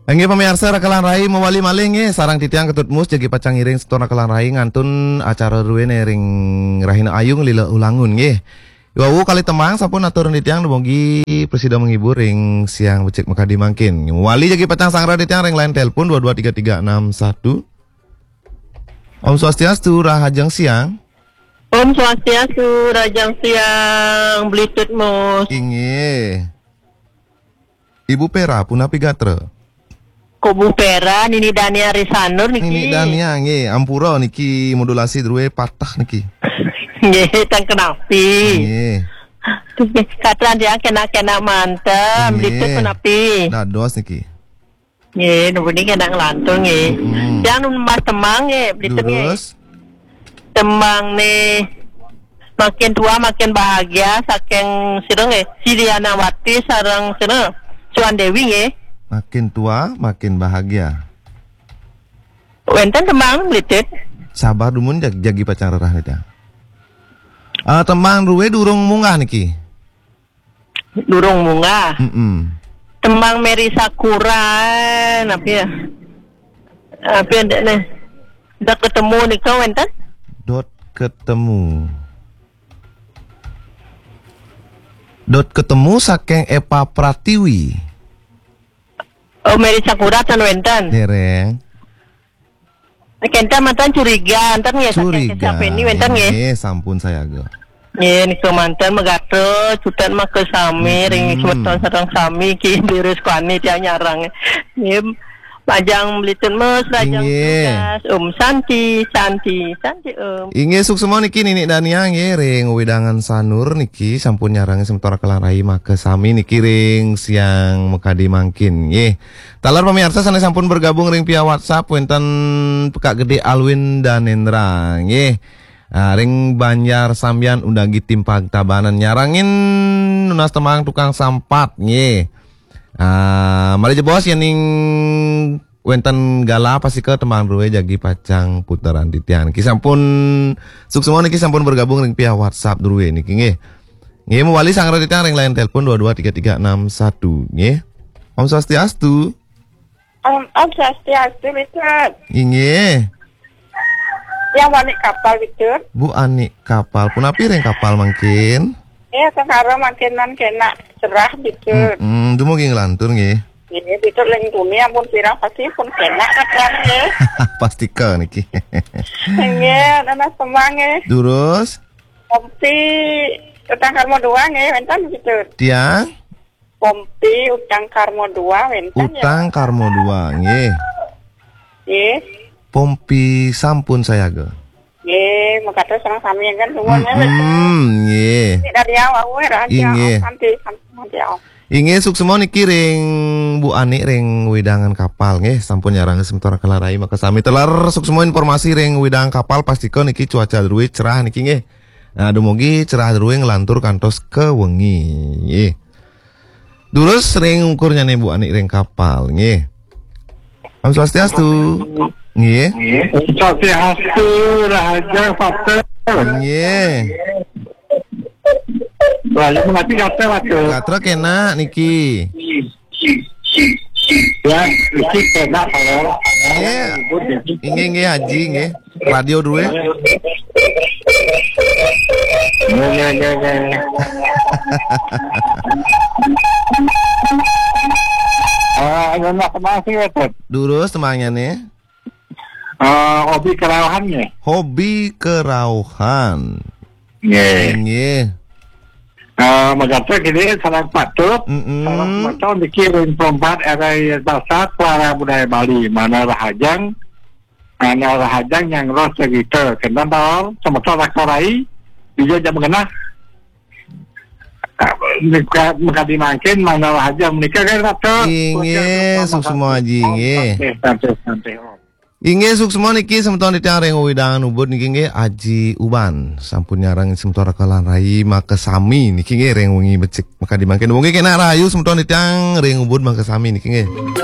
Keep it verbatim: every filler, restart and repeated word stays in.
Inggih pamiarsa, Raka lan Rai mawali malih nggih, sareng titiang Ketut Mus jagi pacang ngiring semeton Raka lan Rai ngantun acara druéné ring rahina ayu nglila ulangun nggih. Wau kalih tembang sampun atur titiang, dumugi prasida menghibur ring siang becik makadi mangkin. Mawali jagi pacang sanggra titiang ring line telepon dua dua tiga tiga enam satu. Om Swastiastu, rahajeng siang. Om Swastiastu, rahajeng siang, Blitut Mus. Inggih. Ibu Pera, punapi gatra? Kok Bu Pera, Nini Dania ring Sanur niki. Nini Dania, nggih, ampura niki modulasi drué patah niki. Nggih, ten kenapi. Nggih. Katran tiang kena-kena manten, Blitut kenapi? Dados niki. Nggih, nuwun niki kena nglantur nggih. Mm-mm. Tiang nunas tembang nggih, Blitut nggih. Durus? Tembang nih, Makin Tua Makin Bahagia saking sira nggih, Siliana Wati sareng sira, Suan Dewi nggih. Makin Tua Makin Bahagia. Wénten tembang Blitut? Sabar dumun, jag-, jagi pacang rerah niki. Ah, tembang drué durung munggah niki. Durung munggah. Mm-mm. Tembang Mary Sakura, napi ya? Napi ya, Dek, nih? Dot Ketemu nika wénten? Dot Ketemu. Dot Ketemu saking Epa Pratiwi. Oh, Mary Sakura ten wénten? Dereng. Kenten manten Curiga, enten nggih, saking Curiga. Kesapeni wénten nggih. Nggih, sampun sayaga. Nggih, nika manten megatra, cutet maka sami, ring semeton sareng sami, ki virus kuani tiang nyarang. Nggih, majeng Blitut Mus, rahajeng tugas. Om Santi, Santi, Santi Om. Inggih, suksma niki Nini Dania nggih, ring wewidangan Sanur niki, sampun nyarang semeton Raka lan Rai maka sami niki ring siang makadi mangkin nggih. Taler pamiarsa sané sampun bergabung ring via WhatsApp, wénten Pekak Gedé Alwin Danendra, nggih. Ah, ring Banjar Sambian Undagi Timpag Tabanan nyarengin nunas tembang Tukang Sampat, nggih. Ah, malih jebos yéning wénten galah pastika tembang drué jagi pacang puteran titiang. Niki sampun suksma niki sampun bergabung ring via WhatsApp drué niki, nggih. Nggih, mawali sanggra titiang ring line telepon dua dua tiga tiga enam satu, nggih. Om Swastiastu. Om, Om Swastiastu, Blitut. Inggih. Yang Anik Kapal, Blitut. Bu Anik Kapal. Punapi ring Kapal mangkin? Iya, sangkara mangkin nan kena cerah, Blitut. Mm-mm, dumugi nglantur nggih. Nggih, Blitut ring tuni ampun pirang pasti pun kena kan nggih. Pastika niki. Nggih, nunas tembang nggih. Durus? Pompi Utang Karma dua nggih, wénten Blitut. Tiang? Pompi Utang Karma dua wénten ya? Utang Karma dua, nggih. Nggih. Pompi sampun sayaga. Nggih, mekaten sareng sami kan semua nggih. Mm-mm, nggih. Dari awal wéh, rahasia. Inggih. Santi, santi, santi, oh. Inggih, suksma niki ring Bu Ani ring wewidangan Kapal nggih, sampun nyarang semeton Raka lan Rai maka sami. Taler suksma informasi ring wewidangan Kapal, pastika niki cuaca drué cerah niki nggih. Nah, dumugi cerah drué nglantur kantos ka wengi nggih. Durus ring ungkurnyané Bu Ani ring Kapal, nggih. Om Swastiastu. Nggih. Om Swastiastu, rahajeng, Pater. Nggih. Wah, ya, mati kata, Pater. Gatra kena niki. Ya, niki kena, Pater. Nggih. Inggih, nggih, Haji, nggih. Radio dulu ya. Ya, ya, ya, ya. Ah, ya, terima kasih, ya, Tet. Durus temanya nih. Ah, hobi kerauhan, ya. Hobi kerauhan. Nggih. Nggih. Ah, mekaten kini sareng patut, mm-mm, sareng patut niki ring perempat R I Dasar Suara Budaya Bali, mana rahajeng, mana rahajeng yang roh cerita, kenten taler, semeton Raka Rai, dija jam genah. Ah, meka-, mekadi mangkin, mana rahajeng menika kan, Raka? Inggih, suksma Aji, nggih. Santai, santai, santai. Inggih, suksma niki semeton titiang ring wewidangan Ubud niki nggih, Aji Uban. Sampun nyarengin semeton Raka lan Rai makasami niki nggih ring wengi becik makadi mangkin. Wengi kenak rahayu semeton titiang ring Ubud makasami niki nggih.